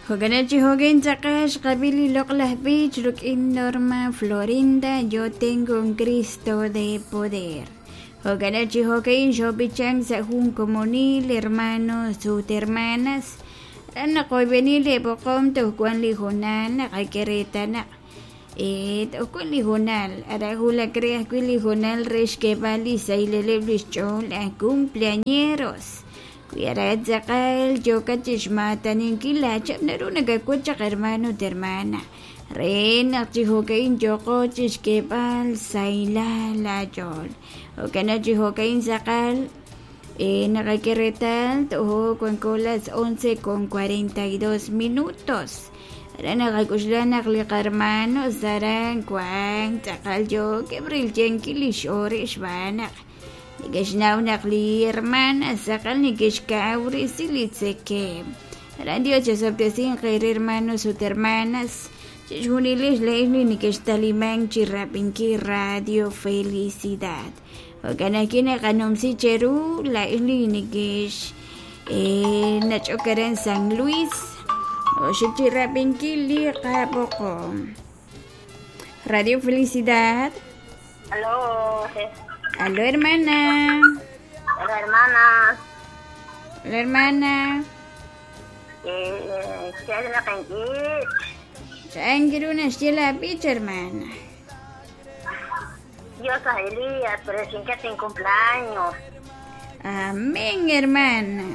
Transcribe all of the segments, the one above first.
Jo'kan chi jo'kan tz'aqal xqab'i li loq'laj b'ich rik'in Norma Florinda, Yo tengo un Cristo de poder. Jo'kan chi jo'kan xob'ichank sa' jun komonil hermanos ut hermanas. Aran naqoyb'eni li b'oqom toj wan li hoonal naqak'e reetal naq toj wan li hoonal aran wulak re ajwi' li hoonal re xk'eeb'al li xsahileb' li xch'ool aj cumpleañeros. Wi aran tz'aqal yookat chixmaataninkil laachihab' naru nakawach chaq hermano ut hermana re naq chi jo'ka'in yooqo chixk'eeb'al sahilal laach'ool. Jo'kan chi jo'ka'in tz'aqal naqak'e reetal tojo wanko las 11:42 minutos. Aran naqak'oxla naq li qahermanos aran wank tz'aqal yookeb' rilyenkil li x'oor xb'aan naq neke'xnaw naq li hermana tz'aqal neke'xkawresi li tzekemq. Aran Dios chesob'tesinq eere hermanos ut hermanas chixjunilex laa'ex li neke'xtalimank chi rab'inkil Radio Felicidad. Jo'kan ajwi' naqanumsi cheru laa'ex li nekex nach'ok aran San Luis oxik chi rab'inkil li qab'oqom. Radio Felicidad. Aló. Aló, hermana. Hola, hermana. Hola, hermana. Changiru naxye la b'ich, hermana. Dios a Elías, pero sin que sin cumpleaños. Amén, hermana.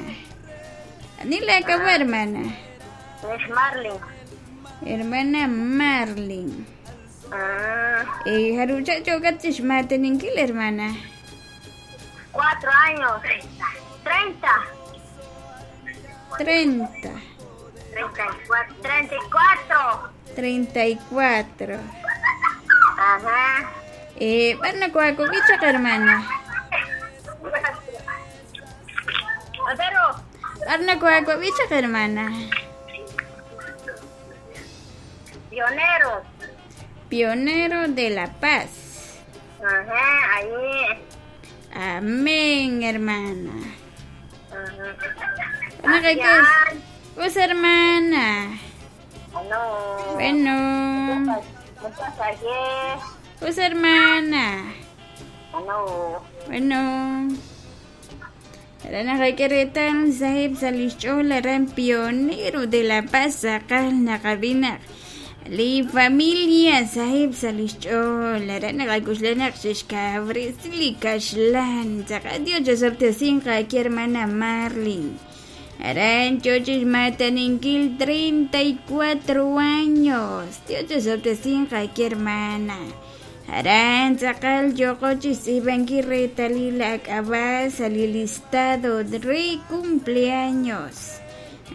Anila acabó, hermana. Es Marlin. Hermana Marlin. Harucha chocachish mateninkil, hermana. 4 años. 30. 30. 34. 34. 34. Ajá. Bueno, cuacobicha, hermana. Pero. Arna cuacobicha, hermana. Pionero. Pionero de la paz. Ajá, ahí. Amén, hermana. Ajá. Bueno, ¿qué es? Pues, hermana. Bueno. Bueno. Muchas gracias. Pues, hermana. Bueno. Bueno. Aran naqak'e sahib sa lix ch'ool aran pionero de la paz tz'aqal naqab'i naq li familia sahib sa lix ch'ool aran naqak'uxla naq xixkawresi li kaxlan tz'aqal Dios chesob'tesinq aki hermana Marlin. Aran chochix mataninkil 34 años. Dios chesob'tesinq aki hermana. Aran tz'aqal yoqochis tz'ib'anki retalil ak'ab'a sa li listado re cumpleaños.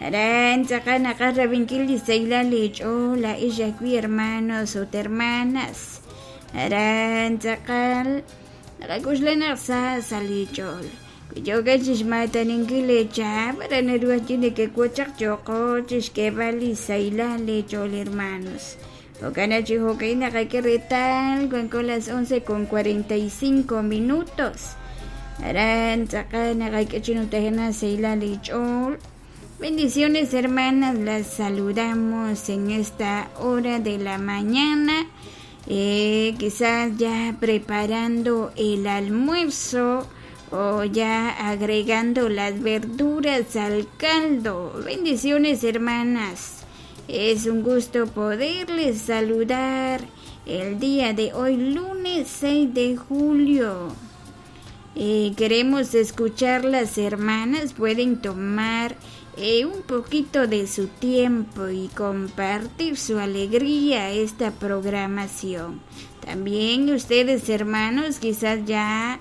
Aran tz'aqal naqaj rab'inkil li sahilal li ch'ool la'ix ajwi' hermanos ut hermanas. Aran tz'aqal naqak'uxla naq sa sa li ch'ool. Yoka chixmataninkil lechab aran naru ajwi' nekekuachaq yoqochix xk'eeb'al li sahilal li ch'ool hermanos. Jo'kan chi jo'kan naqak'e reetal wanko las 11:45 minutos. Aran tz'aqal naqak'e chi nutajena sahilal li ch'ool. Bendiciones, hermanas, las saludamos en esta hora de la mañana. Quizás ya preparando el almuerzo o ya agregando las verduras al caldo. Bendiciones, hermanas. Es un gusto poderles saludar el día de hoy, lunes 6 de julio. Queremos escuchar las hermanas. Pueden tomar un poquito de su tiempo y compartir su alegría esta programación. También ustedes, hermanos, quizás ya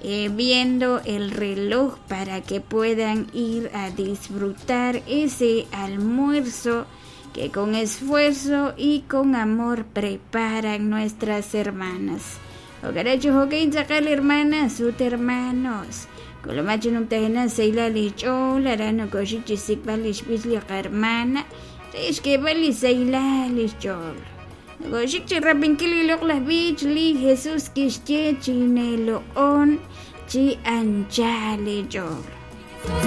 viendo el reloj para que puedan ir a disfrutar ese almuerzo que con esfuerzo y con amor preparan nuestras hermanas. Ogaracho hokein tz'aqal hermanas ut hermanos. Kolomacho numtajena seila lich'ol aran koxik chisikb'al lixb'ich li qarhermana re xk'eeb'al li seila lixch'ool. Koxik chi rab'inkil li loq'laj b'ich li Jesús kixye chineloq'on chi anchal lich'ool.